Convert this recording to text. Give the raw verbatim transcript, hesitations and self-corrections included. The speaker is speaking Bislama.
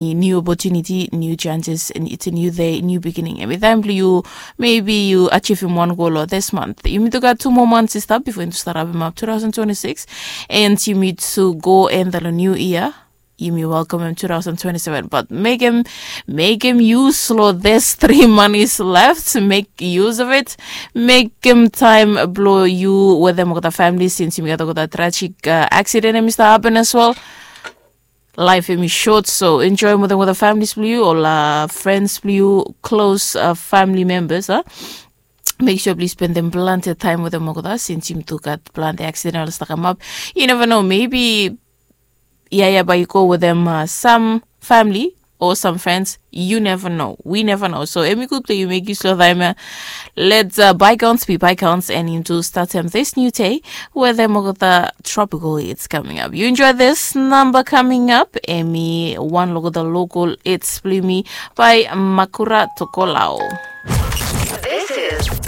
new opportunity, new chances, and it's a new day, new beginning. Hemi taem blong yu, mebi yu ajivim wan gol o this month. Yumi tu gat tu moa months i stap bifo yumi tu stap rapim ap two thousand twenty-six, and yumi tu go enta long new year. Yumi welkamem two thousand twenty-seven, but mekem mekem use long this three months left, make use of it. Mekem taem blong yu wetem olgeta famili, since yumi gat olgeta tragic uh, accident hemi stap happen as well. Laef hemi short, so enjoem wetem olgeta familis blong yu, ol uh, friends blong yu, close uh, family members a. Make sure blong yu spendem plante taem wetem olgeta, since yumi tu gat plante accident oli stap kamap. You never know, maybe ia ia bae yu go wetem uh, some family or some friends. You never know, we never know. So hemi gud blong yu make use long taem ia. Let uh, bygones be bygones, and yumi tu statem this new day wetem olgeta tropical hits coming up. You enjoy this number coming up, hemi wan long olgeta local hits blong yumi by Makura Tokolao. This is